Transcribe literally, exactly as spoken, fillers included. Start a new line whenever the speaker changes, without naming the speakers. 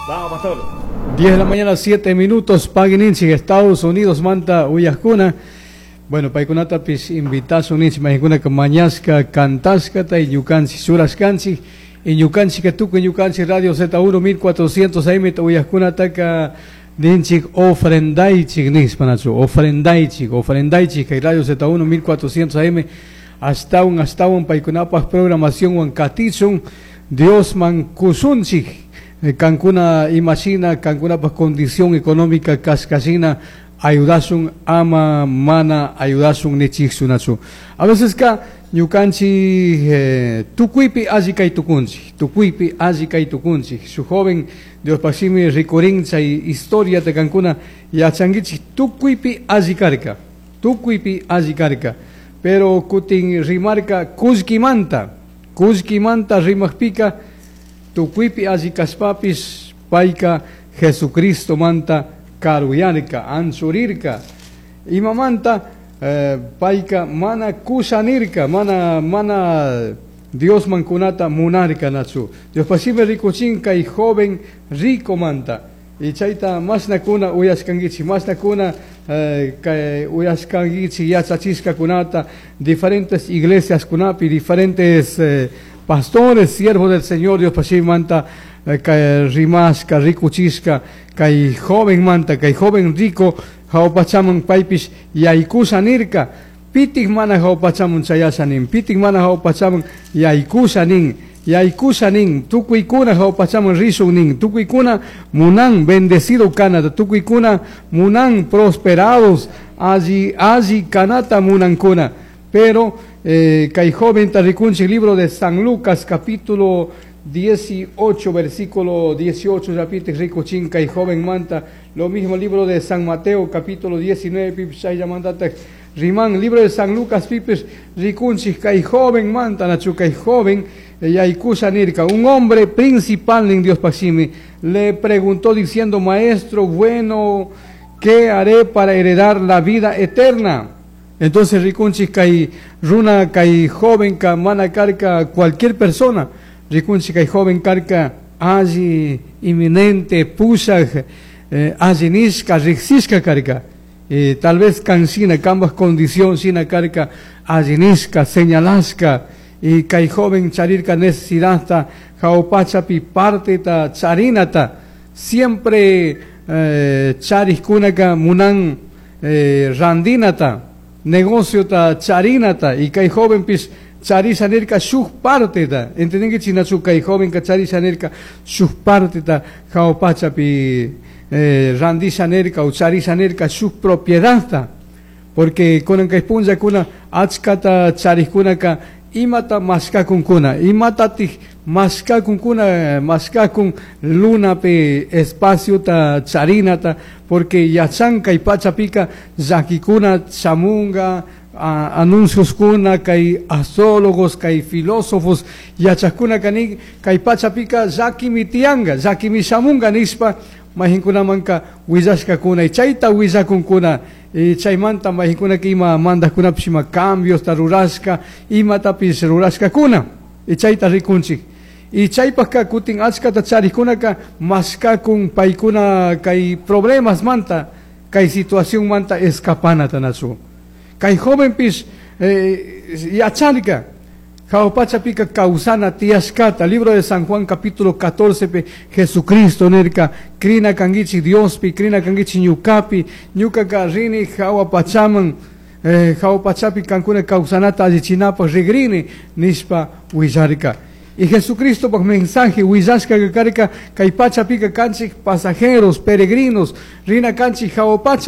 Vamos, pastor.
diez de la mañana, siete minutos, pagui ninchij, Estados Unidos manta uyajcuna. Bueno, paicunatapish invitashun ninchij, mayjunaka mañashka, cantashkata y ñukanchik churashkanchik y ñukanchik tukuy ñukanchik Radio Z uno mil cuatrocientos A M uyajkunataka ninchik ofrendaichik nishpa, nachu, ofrendaichik, ofrendaichik kay Radio Z uno mil cuatrocientos A M ashtawan ashtawan paykunapaj programación wan katichun, Diosman kushunchik. Eh, kankuna imashina kankunapaj condición económica kashkashina ayudashun ama mana ayudashun nichikchu, nachu. A veces ka ñukanchik eh, tukuypi alli kay tukunchik, tukuypi alli kay tukunchik. Shuk joven, Diospaj shimi rikurin chay historia kankuna yachankichik, tukuypi alli karka, tukuypi alli karka, pero kutin rimarka kullkimanta, kullkimanta rimajpika tukuypi alli kashpapish payka Jesucristo manta karuyarka, anchurirka. Imamanta? eh, payka mana kushanirka, mana mana Diosman kunata munarka, nachu. Diospaj shimi rikuchin kay joven rico manta y chayta mashnakuna uyashkankichik, mashnakuna eh, kay uyashkankichik yachachishkakunata diferentes iglesias kunapi, diferentes eh, pastores, siervos del Señor, Diospaj shimimanta eh, kay rimashka, rikuchishka kay joven manta, kay joven rico jahua pachaman paypish yaykusha nirka. Pitik mana jahua pachaman chayasha nin? Pitik mana jahua pachaman yaykusha nin? Yaykusha nin, tukuykuna jahua pachaman rishun nin, tukuykuna munan bendecido kanata, tukuykuna munan prosperados, alli alli kanata munankuna. Pero eh, kay joven rikunchik libro de San Lucas capítulo dieciocho, versículo dieciocho, repite rikuchin kay joven manta. Lo mismo libro de San Mateo capítulo diecinueve pipish chayllamantataj riman. Libro de San Lucas pipish rikunchik kay joven manta, nachu, kay joven yaykusha nirka. Un hombre principal en Diospaj shimi le preguntó diciendo: "Maestro bueno, ¿qué haré para heredar la vida eterna?" Entonces rikunchik kay runa, kay joven ka mana karka cualquier persona. Rikunchik kay joven karka alli eminente, pushaj, eh, alli nishka, riksishka karka. Eh, tal vez kan shina, kambaj condición shina karka, alli nishka, señalashka. Y kay joven charirka necesidad jahua pachapi parteta charinata. Siempre eh, charijkunaka munan eh, randinata, negociota charinata, y kay joven pish charisha nirka shuk parteta. ¿Entendinkichik, nachu? Kay joven ka charisha nirka shuk parteta jahua pachapi eh, randisha nirka o charisha nirka shuk propiedadta, porque kunan kay punllakuna achkata charijkunaka imata mashkakunkuna, imatatik mashkakunkuna, mashkakun lunapi espaciota charinata, porque yachan kay pachapika llakikuna shamunga, anuncios kuna kay astrólogos, kay filósofos yachakuna kani kay pachapika llakimi tiyanga, llakimi shamunga nishpa mayjinkunamanka willashkakuna y chayta willakunkuna. Y chaymanta mayjinkunaka ima mandajkunapish ima cambiosta rurashka, imatapish rurashkakuna y chayta rikunchik. Y chaypajka kutin achkata charijkunaka mashkakun paykuna kay problemas manta, kay situación manta escapanata, nachu. Kay jovenpish eh, yacharka jahua pachapika kawsana tiyashkata. Libro de San Juan capítulo catorce pi Jesucristo nirka: "Crina kankichik Diospi, crina kankichik ñukapi, ñukaka rini jahua pachaman, eh, jahua pachapi kankuna kawsanata allichinapaj rigrini" nishpa willarka. Y Jesucristo paj mensaje willashka karka kay pachapika kanchik pasajeros, peregrinos, rina kanchik jahua pacha.